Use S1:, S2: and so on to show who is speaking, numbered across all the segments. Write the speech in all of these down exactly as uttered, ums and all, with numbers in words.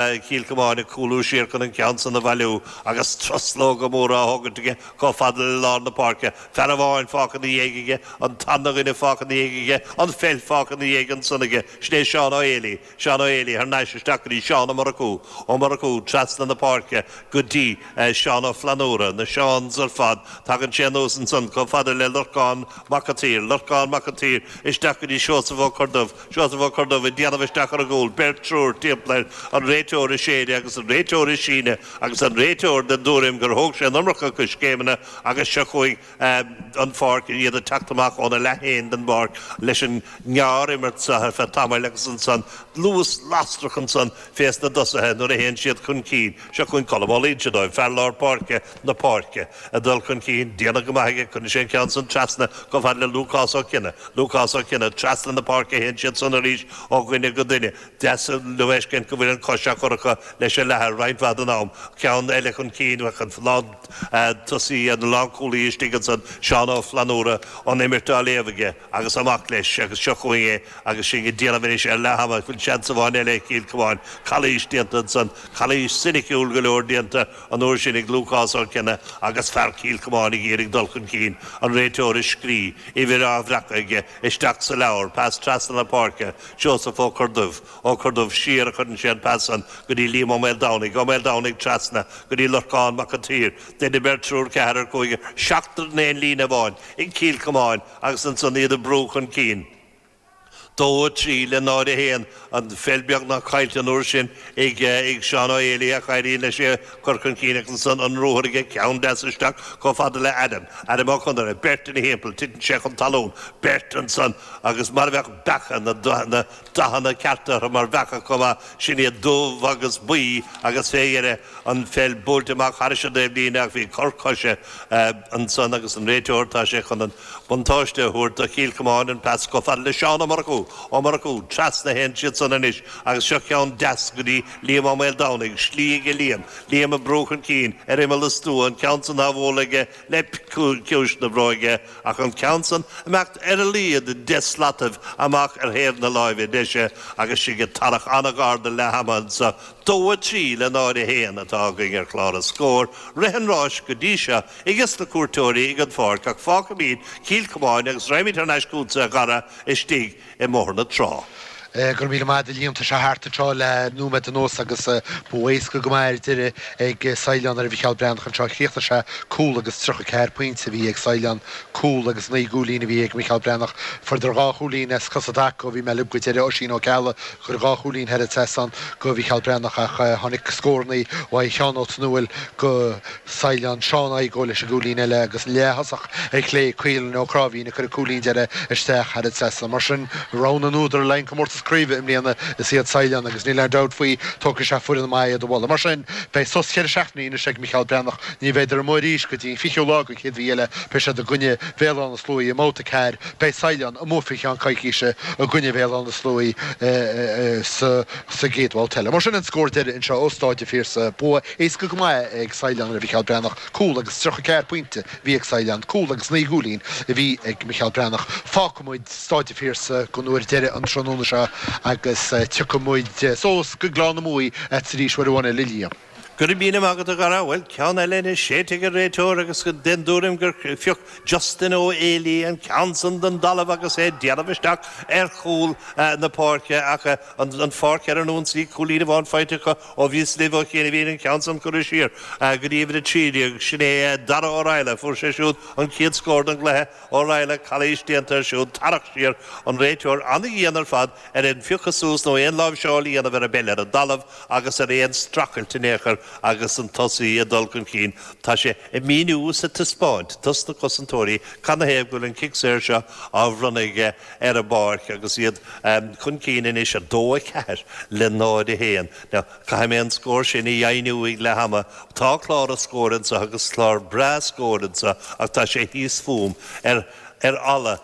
S1: Chill Chomáin ag cúlú siar chun an ceann san a bhailiú agus truslóga móra á thógaint aige chomh fada le lár na páirce. Fear amháin fágtha ina dhiaidh aige, an tarna dhuine fágtha ina dhiaidh aige, an pheil fágtha ina dhiaidh ansan aige. Sin é Seán Ó Héalaí. Seán Ó Héalaí thar n-ais isteach go dtí Seán Ó Murchú. Ó Murchú trasna na páirce go dtí Seán Ó Flannúra. Na Seáns ar fad. Tagann sé anuas ansan chomh fada le Lorcán Mac an tSaoir. Lorcán Mac an tSaoir isteach go dtí Seosamh Ó Corrdubh. Seosamh Ó Corrdubh ag déanamh isteach ar an gcúl. Beirt, triúr timpeall air. An réiteoir ag séideadh agus an réiteoir ag síneadh agus an réiteoir den dtuairim gur thóg sé an iomarca coiscéimeanna agus seo chugainn an pháirc, iad ag teacht amach óna leath féin den bpáirc leis an ngearr-imirt seo ar feadh tamaill agus ansan luas lasrach ansan fés na dtosaithe nuair a théann siad chun cinn. Seo chugainn Colm Ó Loinseadáin, fear lár páirce na páirce, ag dul chun cinn, déanamh go maith aige, cuireann sé an ceann san trasna chomh fada le Lúcás Ó Cionnaith. Lúcás Ó Cionnaith, trasna na páirce a théann siad san arís ó dhuine go duine. Deas le feiscint go bhfuil an chois á cur acu leis an leathar roinnt mhaith den am. Ceann eile chun cinn, bheadh an lántosaí, an lánchúlaí istigh ansan, Seán Ó Flannúra, an imirt á léamh aige agus amach leis agus seo chugainn é agus sinn ag déanamh anois ar leath ama. Bhfuil seans amháin eile ag Cill Chomáin. Calaois déanta ansan, calaois soiniciúil go leor déanta an uair sin ag Lúcás Ó Cionnaith agus fear Chill Chomáin ag iarraidh dul chun cinn. An réiteoir ag scrí, uimhir á bhreacadh aige isteach sa leabhar, pas trasna na páirce, Seosamh Ó Corrdubh, Ó Corrdubh siar a chuireann sé an pas san go dtí Liam Ó Maoldomhnaigh, Ó Maoldomhnaigh trasna go dtí Lorcán Mac an tSaoir, duine, beirt, triúr, ceathrar, cúigear, seachtar in aon líne amháin ag Cill Chomáin agus ansan iad ag brú chun cinn. dó a trí le náid a haon, an pheil beagnach caillte an uair sin ag Seán Ó Héalaí ach éiríonn leis é a chur chun cinn agus ansan an ruathar aige, ceann deas isteach chomh fada le Adam, Adam Ó Conaire, beirt ina thimpeall, titeann sé chun talún, beirt ansan agus mar a bheadh beacha, na dathanna cearta orthu mar bheacha chomh maith, sin iad dubh agus buí agus fé dheireadh an pheil buailte amach thairis an dtaobhlíne ach bhí cor coise ansan agus an réiteoir, tá sé chun an buntáiste a thabhairt do Chill Chomáin, an pas chomh fada le Seán Ó Murchú, Ó Murchú, trasna a théann siad san anois agus seo ceann deas go dtí Liam Ó Maoldomhnaigh, slí aige Liam, Liam ag brú chun cinn ar imeall an stua, an ceann san á bhualadh aige le ciumhais na bróige ach an ceann san imeacht ar a laghad deich slataibh amach ar thaobh na láimhe deise agus sinn ag tarrac an-ghar do leath ama anso. Dó a trí le náid a haon atá againn ar chlár an scóir. Rith an ráis go dtí seo ages na cuairteoirí ag an pháirc ach fágfaimid Cill Chomáin agus raghaimid thar n-ais chugatsa a Dhara istigh i mBóthar na Trá.
S2: Go raibh míle maith agat a Liam. Tá sé thart anseo le nóiméad anuas agus bua éasca go maith ar deireadh ag Saighleán ar Mhicheál Breathnach anseo. Chríochnaigh sé cúl agus tríocha ceathair pointe a bhí ag Saighleán, cúl agus naoi gcúilín a bhí ag Micheál Breathnach. Fuaireadar dhá chúilín as cosa i dtaca ó bhí mé libh go deireadh. Oisín Ó Ceallaigh a chuir dhá chúilín thar an trasnán go Mhicheál Breathnach ach tháinig scórannaí uaidh Sheán Ó Tonúil go Saighleán, Seán Igoe leis an gcúilín eile agus an leath-thosach ar chlé, Caolan Ó Cráimhín a chuir an cúilín deiridh isteach thar an trasnán. Mar sin, rogha na n-údar le haghaidh an comórtas craoibhe i mbliana is iad Saighleán agus níl aon dabht faoi, tógfaidh sé foireann maith iad a bhualadh. Mar sin, beidh sos cheithre seachtainí anois ag Micheál Breathnach. Ní bheidar amuigh arís go dtí an fichiú lá den chéad mhí eile. Beidh siad i gcoinne Bhéal Átha na Sluaighe i mbabhta a ceathair. Beidh Saighleán amuigh faoi cheann coicíse i gcoinne Bhéal Átha na Sluaighe sa gcéad bhabhta eile. Mar sin an scór deiridh anseo ó Stáid an Phiarsaigh. Bua éasca go maith ag Saighleán ar Mhicheál Breathnach. Cúl agus tríocha ceathair pointe a bhí ag Saighleán, cúl agus naoi gcúilín a bhí ag Micheál Breathnach. Fágfaidh muid Stáid an Phiarsaigh don uair deiridh an tráthnóna seo agus tiocfaidh muid suas go Gleann na Muaidhe tar éis uair amháin eile, a Liam.
S1: Go raibh míle maith agat a Dhara. Bhuel, ceann eile anois séidte ag an réiteoir agus den dtuairim gur phioc Justin Ó Héalaí an ceann san den dtalamh agus é ag déanamh isteach ar chúl na páirce ach an pháirc ar an ionsaí, cúilín amháin faighte acu ó bhíos libh ó chianaibh, an ceann san curtha siar go dtí uimhir a trí déag. Sin é Dara Ó Raghallaigh. Fuair sé siúd an chéad scór den gcluiche. Ó Raghallaigh, calaois déanta air siúd, tarrac siar an réiteoir an-dhian ar fad ar aon phiocadh suas nó aon láimhseáil a dhéanamh ar an bpeil ar an dtalamh agus ar aon streachailt in aon chor agus an tosaí ag dul chun cinn. Tá sé ag míniú is ag taispeáint dos na cosantóirí canathaobh go bhfuil an cic saor seo á bhronnadh aige ar an bpáirc agus iad chun cinn anois a dó a ceathair le náid a haon. Now, caithfidh mé an scór sin a dheimhniú ag leath ama. Tá clár an scóir anseo agus clár breá scóir anseo ach tá sé thíos fúm ar ar fhalla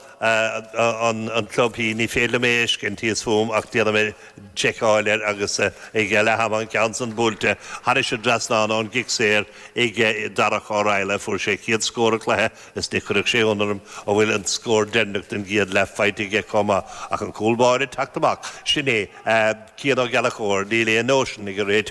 S1: an an club hí ní féidir mé scin tíos fum ach déana mé seiceáil air agus ag le ham an ceann san buailte thar an trasnán ón gcic saor ag Darach Ó Raghallaigh fuair sé chéad scór an chluiche is ní chuirfeadh sé ionadh orm a bhfuil an scór deireanach den gcéad leath faighte aige chomh maith ach an cúl báire teacht amach sin é Cian Ó Gallchóir níl aon nóisean ag an réiteoir.